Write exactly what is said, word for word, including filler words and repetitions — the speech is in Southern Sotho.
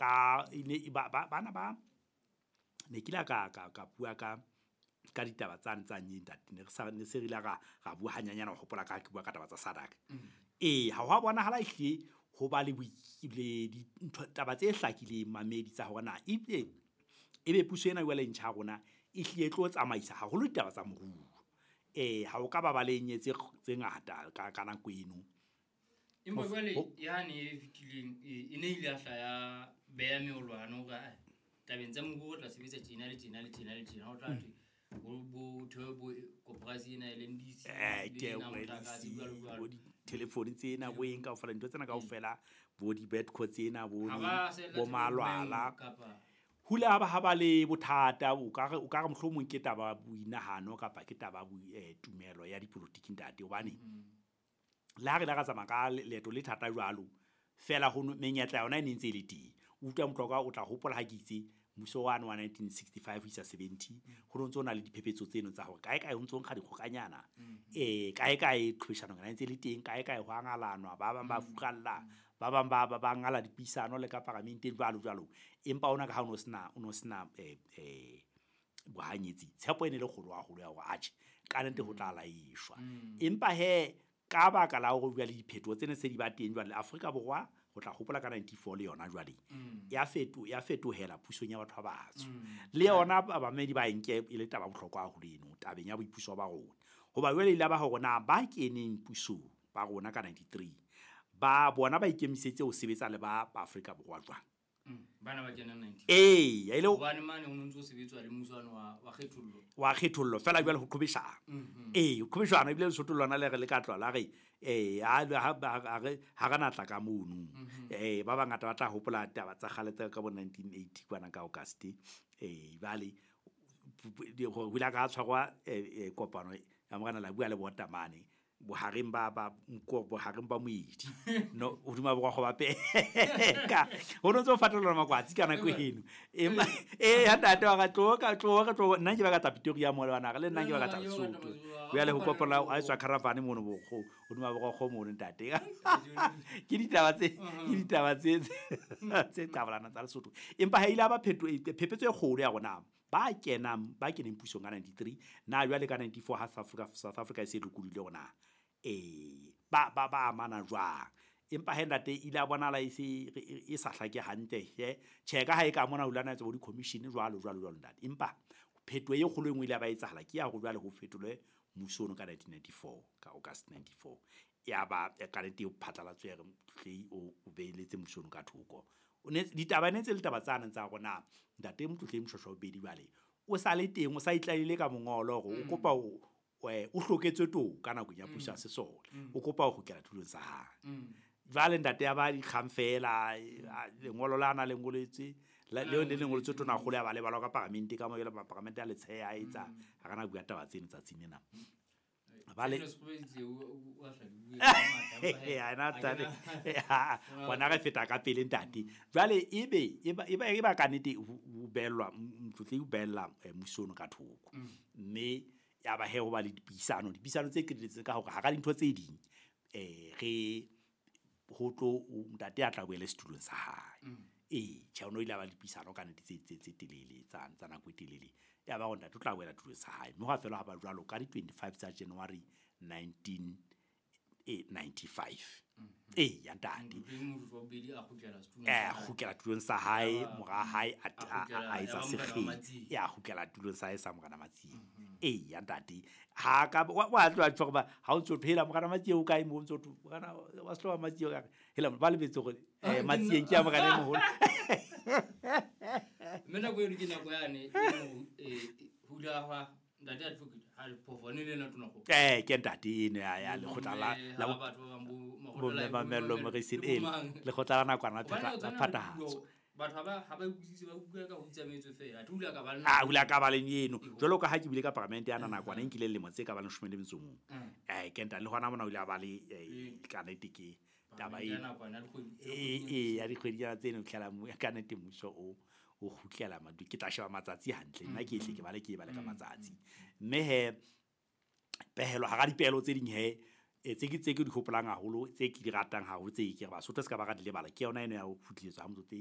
Ka ne ba bana ba ne ke la ka ka ka bua ka ka ditaba tsane tsa ntate ne re sa ne se re ile ra ra bua hanyanyana ho hopola ka ke bua ka taba tsa SADC. Ee, ha ho bonahala ehlile ho ba le le dintho taba tse hlakileng mamedi tsa hore na ebile ebe puso ena jwale e ntjha ya rona e hlile e tlo tsamaisa haholo ditaba tsa moruo. Eh ha o ka ba ba le tse tse ngata ka ka nako eno. Empa jwale yane e fetileng e ne ile ya hla ya beha meolwane hore ae tabeng tsa moruo re tla sebetsa tjena le tjena le tjena le tjena. Ho tla thwe bo bo thewe bo koporasi ena ya L N D C Eh le ke ena motlakase jwalo jwalo. Bo di-telephone tsena bo eng kaofela dintho tsena kaofela bo di-bedco tsena bo Ha ba sella bo malwala. Kapa Hule ha ba ha ba le bothata o ka re o ka re mohlomong ke taba boinahano kapa ke taba bo tumelo ya dipolotiki ntate hobane le ha re la ra tsamaya ka leeto le thata jwalo fela ho menyetla yona e ne ntse e le teng. O utlwa motlokwa o tla hopola ha ke itse mmuso wane wa nineteen sixty-five ho isa seventy ho no ntso na le diphephetso tseno tsa hore kae kae ho ntso nkga dikgokanyana eh kae kae qhwebeshano yona e ntse le teng kae kae ho a ngalanwa ba bang ba furalla ba bang ba ba ngala dipuisano le ka paramenteng jwalo jwalo empa ona ka ha o no sena o no sena eh eh bohanyetsi tshepo e ne le kgolo haholo ya hore atjhe ka nnete ho tla laeshwa empa he ka baka la hore jwale diphetoho tsene se di ba teng jwale Afrika Borwa ho tla hopola ka ninety-four le yona jwale ya feto ya fetohela pusong ya batho ba batsho le yona bamedi ba nke e le taba bohlokwa haholo eno tabeng ya boipuso ba rona hoba jwale ile ba hore na ba keneng pusong ba rona ka ninety-three ba bona ba ikemisetse ho sebetsa le ba Afrika Borwa jwang bana ba kenang ninety eh ya ile hobane mane ho ntso sebetswa le mmuso wa wa kgethollo wa kgethollo fela jwale ho qhobeshana eh ho qhobeshana ebile Lesotho lona le re le ka tloha la re eh ha ha re ha re natla ka mono eh ba bangata ba tla hopola taba tsa kgale tsa ka bo nineteen eighty kwana ka August eh jwale ho ile ka tshwarwa kopano ya morena la bua le botamane bohareng ba ba nko bohareng ba moedi no hodima borwa go ba peka ho no ntso fatolla makwatsi ka nako eno empa eh ha ntate wa ka tlo ka tlo ka tlo nna ke ba ka tla Pretoria mo le bana le nna ke ba ka tla Lesotho jwale ho kopela a tswa caravan mono bo go hodima borwa go mono ntate ke ditaba tse ke ditaba tse tse qabalana tsa Lesotho empa ha ile ba pheto phephetso e kgolo ya rona ba kenang ba keneng pusong ka ninety-three na jwale ka ninety-four ha South Africa South Africa e se lokolohile rona eh ba ba ba amana jwang empa he ntate ile a bonala e se e sa hlake hantle he tjhe ka ha e ka mona ulana tsa bo di commission jwalo jwalo jwalo ntate empa phetoho e kgolo e nngwe ile ba etsahala ke ya hore jwale ho fetolwe mmuso ono ka nineteen ninety-four ka August ninety-four ya ba ka nnete o phatlalatso ya re Motlotlei o o beeletse mmuso ono ka thoko o ne ditaba ne tse le taba tsana tsa rona ntate Motlotlei Moshoeshoe Bobedi jwale o sa le teng o sa itlalile ka mongolo hore o kopa o o hloketswe toka nakong ya puso ya sesole o kopa ho kgutlela tulong sa hae jwale ntate ya ba dikgang fela lengolo la na le ngoletswe leo le lengoletswe tona kgolo ya ba le balwa ka paramente ka mo jwale paramente ya letsheya a etsa ha kana bua taba tseno tsatsing lena ba le ena tate bona re feta ka pele ntate jwale ebe eba eba ka nnete o bellwa Motlotlei o bella mmuso ono ka thoko mme ya ba he ho ba le dipuisano dipuisano tse qetelletseng ka hore ha ka dintho tse ding eh re ho tlo ntate a tla boele setulong sa hae eh tjhe ono ile ba le dipuisano ka nnete tse tse tse telele tsa tsa nako e telele ya ba hore ntate o tla boela tulong sa hae mme ha fela ha ba jwalo ka di twenty-five tsa January nineteen ninety-five eh ya ntate eh kgutlela tulong sa hae mora hae a a etsa sekgele ya kgutlela tulong sa hae sa morena Matsie eh ya ntate ha ka wa tloha tjho ba ha o ntso phela morena Matsie o kae mo ntso morena wa sehloba Matsie ka hela ba lebetse hore eh Matsie ke ya morena e moholo mme nako eno ke nako yane eh hula ha ntate advocate ha le phofone le nna tona go eh ke ntate ene ya ya lekgotla la la batho ba bang bo bo Mamello Morrison e lekgotla la nakwana la phathahatso batho ba ha ba utlwisise ba utlwa ka ho itsamaetse fela a hula ka ba a hula ka ba leng eno jwalo ka ha ke bile ka paramente ya nakwana e nkile lemo tse ka ba leshome le metso mong eh ke ntate le hona mona o ile a ba le ka nnete ke taba e e ya dikgwedi tseno tlhela ka nnete mmuso o o kgutlela madu ke tla sheba matsatsi hantle nna ke ehle ke bale ke bale ka matsatsi mme he pehelo hara dipehelo tse ding he tse ke tse ke di hopolang haholo tse ke di ratang haholo tse ke re Basotho se ka ba ra di lebala ke yona eno ya ho kgutletswa ha Motlotlei.